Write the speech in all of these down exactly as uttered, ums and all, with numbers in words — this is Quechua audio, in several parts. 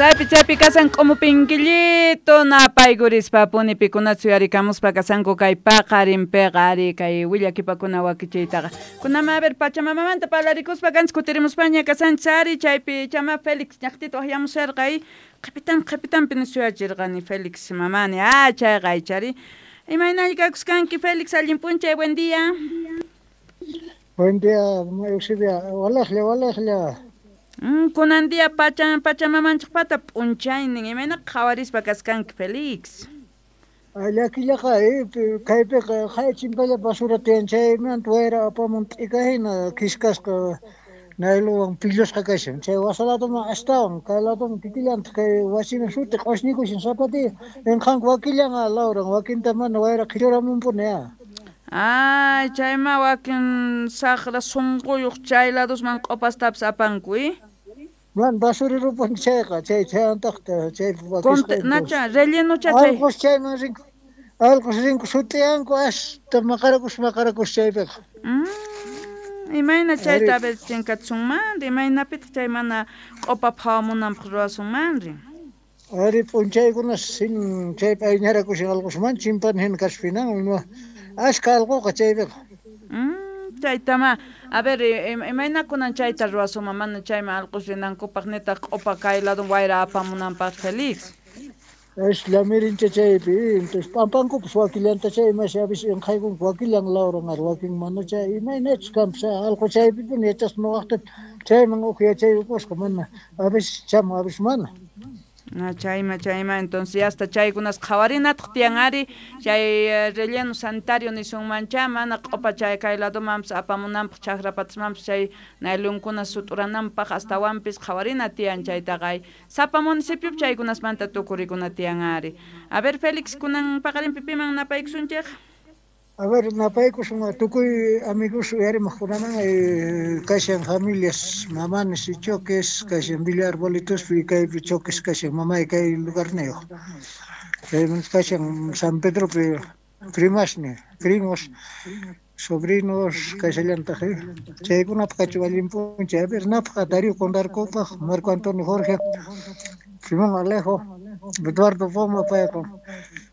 Chaypi chaypi kasan k'umupinkillito napaykurispa puni pikunata suyarikamuspa kasanku kay paqarinpiqa ari kay willakipakuna wakichiytaqa. Kunama a ver Pachamamamanta parlarikuspa kanchis kutirimuspaña kasanchis ari chaypi chama Félix ñaqtita waqyamusharqa y qhipitan qhipitanpi suyachirqani Félix mamani ah chayqa aychari. Imaynalla kakuskanki Félix, allin p'unchay, buen día. Buen día, Eusebia. Walaqlla, walaqlla. Mm, kunan día pacha pachamamanchikpata p'unchaynin imayna qhawarispa kaskanki Félix. Llakillaqa eh, kaypiqa hay chimpalla basura tiyan chaymanta wayra apamun t'ika hina khiskasqa nayluwan pillusqa kashan chay wasa ladoman astawan kay ladoman kikillantaq kay wasiman suti q'usñikushan sapatiya inqanku wakillan lawran wakinta mana wayra qhilluramunpuni ya. Ay, chayma wakin saqra sunquyuq chay ladosman q'upastapis apanku, eh? Man basurerupuni chayqa chay chayantaqta chay Conte, nacha, relleno chay. Allqus chayman rinku allqus rinku sut'iyanku hasta maqarakus maqarakus chaypiqa. Mm, imayna chayta a ver chinkachisunmanri, imaynapitaq chay mana q'upa phawamunanpaq ruwasunmanri. Ari p'unchaykuna sin chaypi ayñarakushan allqusman chimpana hina kashpinan ima ashka allquqa chaypiqa. Mm, chaytama a ver imayna kunan chayta ruwasunman mana chayman allqus rinankupaq nitaq q'upa kay lado wayra apamunanpaq Félix. Es lamirincha chaypi entonces p'ampankupas wakillanta chay imashi a veces inqaykunku wakillan lawran ari wakin mana chay imaynachus kanpas allqu chaypipuni yachaspa nuqaqta chayman huk yachayukusqa mana a veces chamun a veces mana. Ah, chayma chayma entonces hasta chaykunas qhawarinataq tiyan ari chay relleno sanitario nisunmancha mana q'upa chay kay ladomanpis apamunanpaq chakrapatasmanpis chay naylunkuna sut'urananpaq astawanpis qhawarina tiyan chaytaqa ay sapa municipiopi chaykunasmanta tukurikuna tiyan ari. A ver Félix kunan paqarinpi piman napaykusunchik. A ver, napaykusun tukuy amigos uyarimaqkunaman eh, kashan familias mamanes y choques kashan Villa Arbolitospi kaypi choques kashan mamay kay lugarniyuq chaymanta kashan San Pedropi primasni primos sobrinos kashallantaq eh chaykunapaq kachun allin p'unchay. A ver, napaq Darío Condarcopaq Marco Antonio Jorge Simón Alejo Eduardo Poma payqa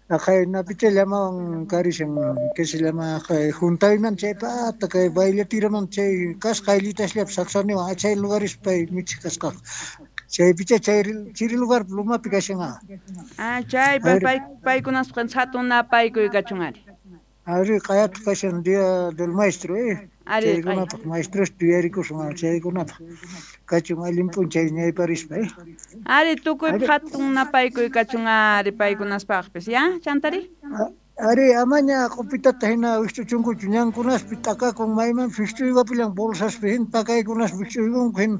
aqhay napicha llamawan karishan que se llama juntayman chay pata kay bailatiraman chay kasqa ayllitasllapi saksaniwan chay lugares pay michik kasqaqa chaypicha chay chiri lugar lumapi kashan. Ah, chay pay paykunasqa hatun napaykuy kachun ari. Ari q'ayataq kashan día del maestro eh chaykunapaq maestros yuyarikusun chaykunapaq kachun allin p'unchay ñayparispa eh. Ari tukuypaq hatun napaykuy kachun ari paykunaspaqpis ya chantari. Ari amaña q'upitata hina wikch'uchunkuchu ñankunaspi t'akakun maymanpis wikch'uywapillan bolsaspi hina pakaykunaspi wikch'uykunku hina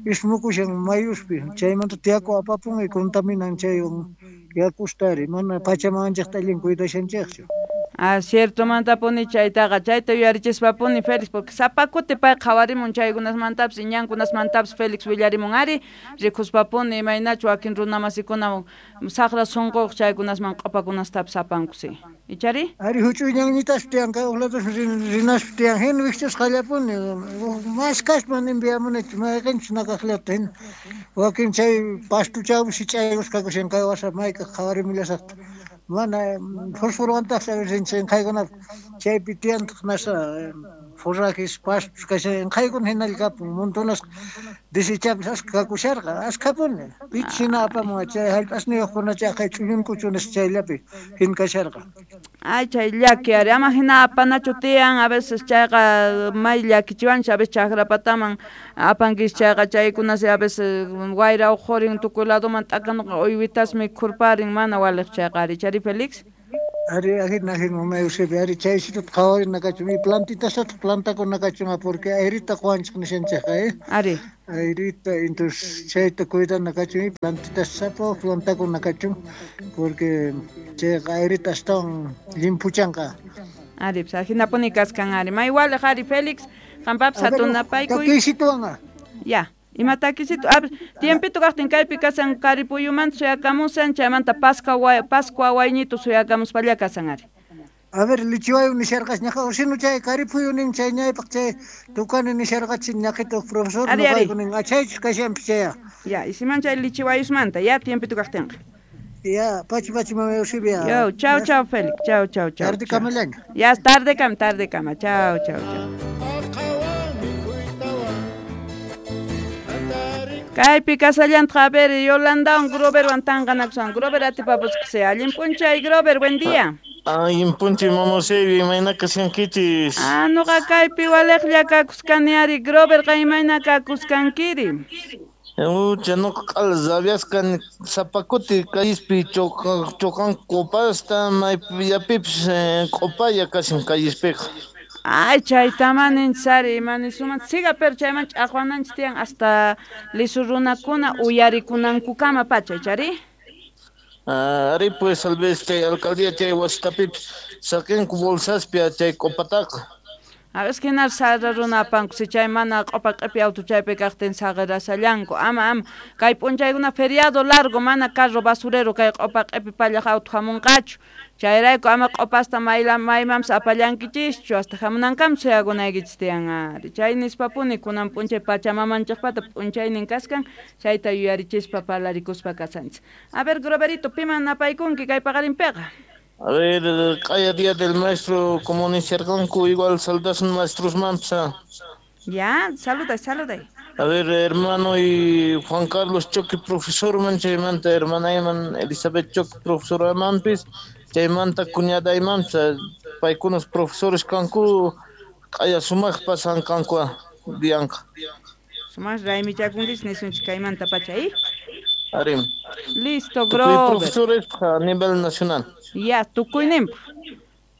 ismukushan mayuspi chaymanta tiyaku apapun y contaminan chaywan yakusta ari mana pachamamanchikta allin cuidashanchikchu. Ah, ciertomantapuni chaytaqa chayta yuyarichispapuni Félix porque sapa kuti pay qhawarimun chaykunasmantapis ñankunasmantapis Félix willarimun ari rikuspapuni imaynachu wakin runamasikuna saqra sunquyuq chaykunasman q'upakunastapis apanku si ichari. Ari huch'uy ñanñitaspi tiyan kay huk ladosman rinaspi tiyan hina wikch'usqallapuni maskaspa enviamunichu mayqinchus nakaqllata hina wakin chay pastuchawpi sich'aykusqa kakushan kay wasa maykaq qhawarimullasaqta mana fosforwantaqsi a veces inqaykunapi chaypi tiyantaq nasa forrajes pastos kashan inqaykuna hinalla kapun montonasqa desechapis ashka kakusharqa ashkapuni pichus hina apamun chay hallp'asniyuqkuna chay aqhay ch'ullunkuchu nispa chayllapi hina kasharqa. Ay chay llaki ari ama hina apanachu tiyan a veces chayqa may llakichiwanchik a veces chakrapataman apankis chayqa chaykunasi a veces wayra uqhurin tukuy ladoman t'akanuqa uywitasmi khurparin mana waliq chayqa ari chari Félix. Ari ahina ahina mamay Eusebia ari chaysitata qhawarina kachun y plantitastataq plantakuna kachun porque airita quwanchik nishanchikqa eh. Ari. Airita entonces chayta cuidana kachun y plantitas sapa plantakuna kachun porque chayqa airita astawan llimphuchanqa. Ari pues ahinapuni kaskan ari may waliq ari Félix qampapis hatun napaykuy. Takisituwan. Ya. Ima takisito a ver tiempito kaqtin kaypi kasan Karipuyumanta suyakamusan chaymanta Pascua Pascua wayñito suyakamuspalla kasan ari. A ver, lichiwayu nisharqas ñaqa usinu chay karipuyu nin chay ñaypaq chay tukani nisharqachin ñaqita profesor noqayku nin achaychus kashanpis chaya. Ya, isiman chay lichiwayusmanta, ya tiempito kaqtinqa. Ya, pachi pachi mama Eusebia. Yo, chao chao Félix, chao chao chao. Tarde kamallaña. Ya, tarde kam, tarde kama, chao chao chao. Kaypi kasallantaq, a ver, Yolandawan Groverwan tanqanakusan. Grover atipapusqasi. Allin p'unchay, Grover, buen día. Allin p'unchay, mama Eusebia, imayna kashankichis? Ah, nuqa kaypi waliqlla kakuskani ari. Grover, qa imayna kakuskankiri? Ucha, nuqa q'ala rabiasqa sapa kuti callispi choqanku q'upasta, maypillapipis q'upalla kashan callispiqa. Ay, chaytama ninchis ari, ima nisuman siga, pero chayman ch'aqwananchis tiyan hasta lisu runakuna uyarikunankukama pacha, chari? Ari pues, tal vez chay alcaldía chay wasitapipis saqinku bolsaspi chay q'upataqa. A ver, hina sarra runa apanku, si chay mana q'upa q'ipi auto chaypi kaqtin saqirasallanku. Ama, ama, kay p'unchaykuna feriado largo, mana carro basurero kay q'upa q'ipi pallaq auto hamunqachu. Chayrayku ama q'upasta mayla maymanpis apallankichischu, hasta hamunankama suyakunaykichis tiyan ari. Chay nispapuni kunan p'unchay pachamamanchikpata p'unchaynin kaskan, chayta yuyarichispa parlarikuspa kasanchis. A ver, Groverito, piman napaykunki kay paqarinpiqa? A ver, q'aya día del maestro, como nisharqanku, igual saludasun maestros-manpis. Ya, saluday, saluday. A ver, hermano y Juan Carlos Choque, profesor, man, chaymanta hermanayman Elizabeth Choque, profesora manpis, chaymanta cuñadaymanpis, paykunas profesores kanku, q'aya sumaq pasan kanku dianqa. Sumaq raymichakunchis nisunchis kaymanta pacha, ¿eh? Arim. Listo, Grover. Profesores a nivel nacional. Ya, tukuyninpaq.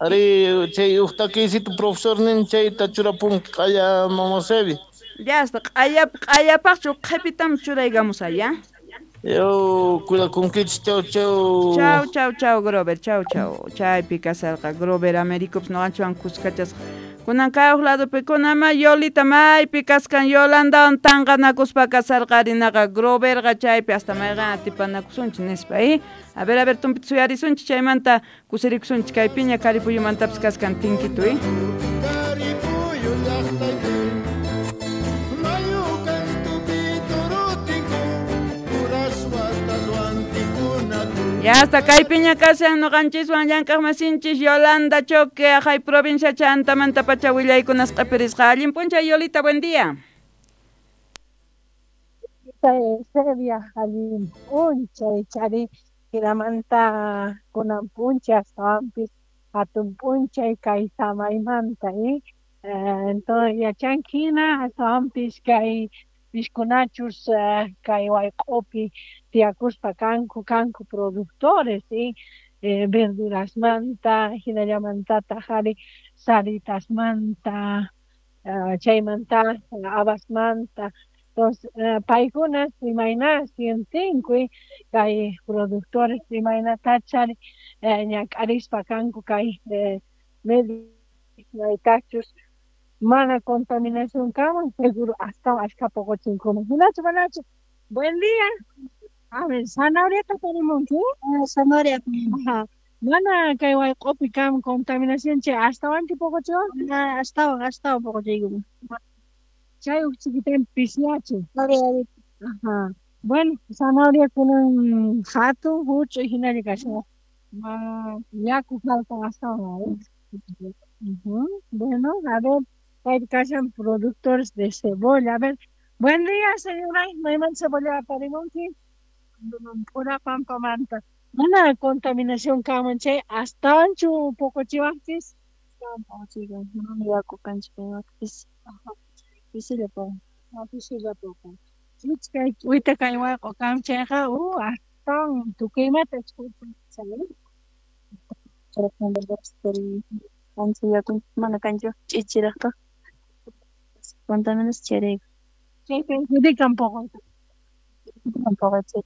Ari, chay uqtakisito profesor nin chayta churapunki q'aya mama Eusebia. Ya, hasta q'aya q'ayapaqchu qhipitam churaykamusay, ya. Yo, cuidakunkichis, chau chau. Chau chau chau, Grover, chau chau. Chaypi kasarqa Grover Americopis noqanchikwan kuskachasqa. Kunan kay huk ladopi kunama Yolita maypi kaskan Yolandawan tanqanakuspa kasarqa arinaqa Groverqa chaypi hasta mayqan atipanakusunchis nispa, ¿eh? A ver, a ver, tumpita suyarisunchis chaymanta kusirikusunchis kay piña Karipuyumantapis kaskan tinkitu, ¿eh? Ya hasta kay piña kashan noqanchiswan llank'aqmasinchis Yolanda Choque, ajay provincia chantamanta pacha willaykunas q'ipirisqa. Allin p'unchay, Yolita, buen día. Eusebia, allin p'unchay, chari hinamanta kunan p'unchay astawanpis hatun p'unchay kay samaymanta, ¿eh? Entonces yachanki hina astawanpis kay piskunachus kay wayq'upi tiyakuspa kanku kanku productores, ¿sí? Eh, verdurasmanta, hinallamantataq ari saritasmanta, uh, chaymanta habasmanta. Entonces, uh, paykunas imayna sientinku kay productores imaynatachari eh, ñak'arispa kanku kay eh, medio maytachus mana contaminación kaman seguro hasta ashka poqochinkuman. Hinachu manachu. Buen día. A ver, zanahoria parimunki? Ah, zanahoria. Ajá. Mana kay wayq'upi kam contaminación chay astawanchu poqochiwan? Ah, astawan, astawan poqochiykuman. Chay huk chiquitan pisyachi. Ari, ari. Ajá. Bueno, zanahoria kunan hatun huch'uy hinalla kashan. Ma yaku faltan astawan. Uh-huh. Bueno, a ver, kay kashan productores de cebolla. A ver, buen día, señora. Mayman cebolla parimunki? Pura pampamanta. Mana contaminación kaman chay astawanchu poqochiwaqchis? Astawan poqochiykan. Mana yaku kanchik pis. Pisilla poqon. Ah, pisilla poqon. Kay wita kay wayq'u kam chayqa, uh, astawan tukuymata Ancha yaku mana kanchu ch'ichiraqta. Contaminación chayrayku. Chaypi perjudican poqoyta. Poqoy.